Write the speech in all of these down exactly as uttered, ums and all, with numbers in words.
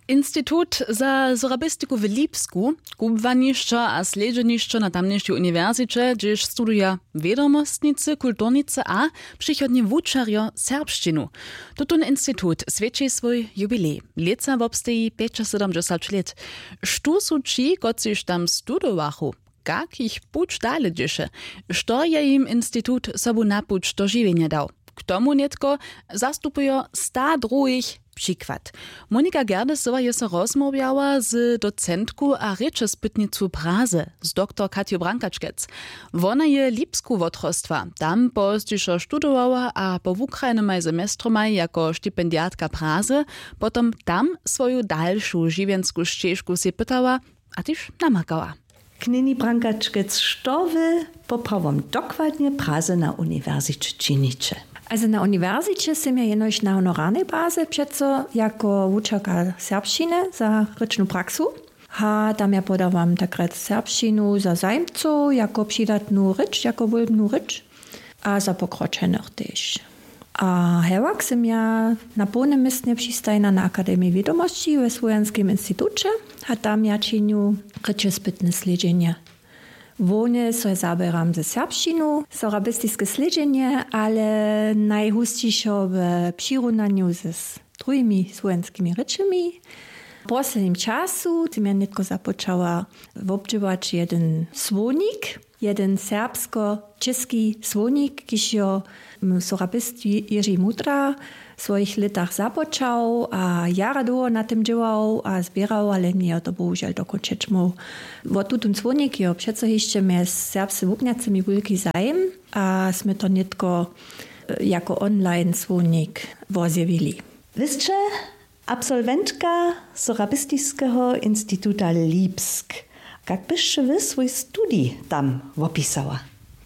Institut za sorabistiku w Lipsku, kubłanišćo a slědźenišćo na tamnišej uniwersiće, hdźež studuja wědomostnicy, kulturnicy a přichodnje wučerjo serbšćinu. Tutón institut swjeći swój jubilej. Lětsa wobsteji pjećasydomdźesać lět. Štó su ći, kotřiž tam studowachu? Kak jich puć dale dźěše? Što je jim institut sobu na puć do žiwjenja dał? K tomu nětko zastupujo sta druhich. Přikład: Monika Gerdesowa je so rozmołwjała z docentku a rěčespytnicu Praze, z doktor Katju Brankačkec. Wona je Lipsku wotrostła, tam pozdźišo studowała a po wukrajnym maj semestromaj jako stipendiatka Praze potom tam swoju dalšu žiwjensku šćežku sej pytała a tež namakała. Knjeni Brankačkec, što wy poprawom dokładnje Praze na uniwersiće činiće? Also na uniwersiće sym ja jenož na honorarnej baze přeco jako wučerka serbšćiny za rěčnu praksu. A tam ja podawam tak rjec serbšćinu za zajimcow jako přidatnu rěč, jako wólbnu rěč. A za pokročenych tež. A hewak sym ja na połnym městnje přistajena na Akademiji wědomosći we Słowjanskim instituće. A tam ja činju rěčespytne slědźenje. Hłownje so zaběram ze serbšćinu, sorabistiske slědźenje, ale najhusćišo w přirunanju z druhimi słowjanskimi rěčemi. W poslednim času sym ja nětko započała wobdźěłać jedyn słownik, jedyn serbsko-čěski słownik, kiž jo sorabist Jiři Mudra w swojich lětach započał a jara dołho na tym dźěłał a zběrał, ale njejo to bohužel dokónčeć móhł. Wo tutón słownik jo přeco hišće mjez serbsce wuknjacymi wulki zajim a smy to nětko jako online słownik wozjewili. Wy sće absolwentka Sorabistiskeho instituta Lipsk. Kak byšće wy swój studij tam wopisała?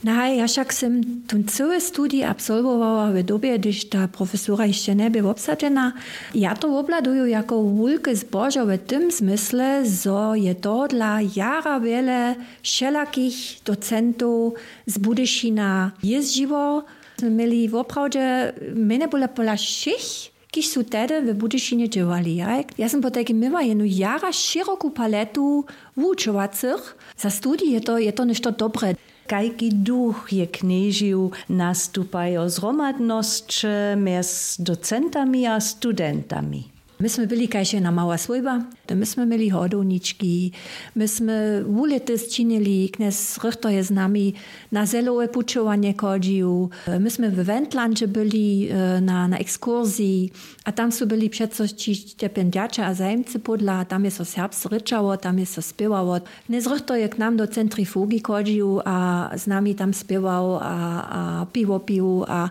Naj ja wšak sym tón cyły studij absolwowała w dobje hdyž ta profesura hišće njebě wobsadźena. Ja to wobhladuju jako wulke zbožo w tym zmysle zo je tohodla jara wjele wšelakich docentow z budyšina jězdźiło. Smy měli woprawdźe mjenjebóle pola wšěch, kiž su tehdy w budyšinje dźěłali. Ja sym potajkim měła jenu jara šěroku paletu wučowacych. Za studij je to je to něšto dobre. Kajki duch je knježił? Nastupajo zhromadnosće mjez docentami a studentami. My smy byli kaž jedna mała swójba. My smy měli hodownički, my smy wulětys činili, knjez rychto je z nami na zelowe pućowanje chodźił. My smy w wentlandźe byli na na ekskursiji. A tam su byli přeco ći stjepjenjaće a zajimcy pódla tam je so serbsce rěčało, tam je so spěwało. Knjez rychto je k nam do centrifugi chodźił a z nami tam spěwał a a piwo pił a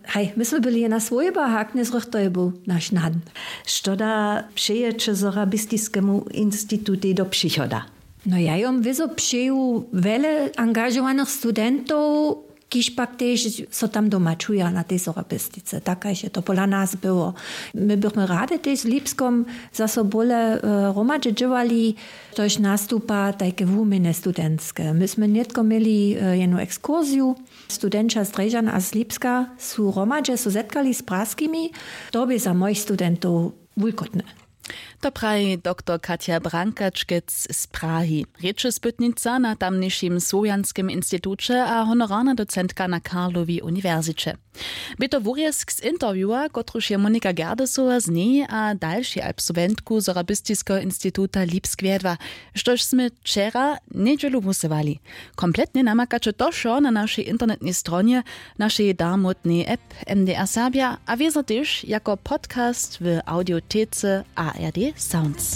haj my smy byli jedna swójba a knjez rychto je był naš nan. Što da přejeće sorabistiskemu institutej do přichoda? No ja jom wězo přeju wjele angažowanych studentow, kiž pak tež so tam doma čuja na tej sorabistice tak kaž je to pola nas było. My bychmy rady tež z lipskom zaso bóle hromadźe dźěłali, štož nastupa tajke wuměnje studentske my smy nětko měli jenu ekskursiju. Studenća z drježan a z lipska su hromadźe so zetkali z praskimi. To bě za mojich studentow wulkotne. To praji doktor Katja Brankačkec z Prahi, rěčespytnica na tamnišim słowjanskim instituće a honorarna docentka na Karlowi uniwersiće. Bě to wurězk z interviewa, kotruž je Monika Gerdesowa z njej a dalšej absolwentku Sorabistiskeho instituta Lipsk wjedła, štož smy wčera njedźelu wusyłali. Kompletnje namakaće to wšo na našej internetnej stronje, našej darmótnej app M D R Serbja a wězo tež jako podcast w audiotece A R D Sounds.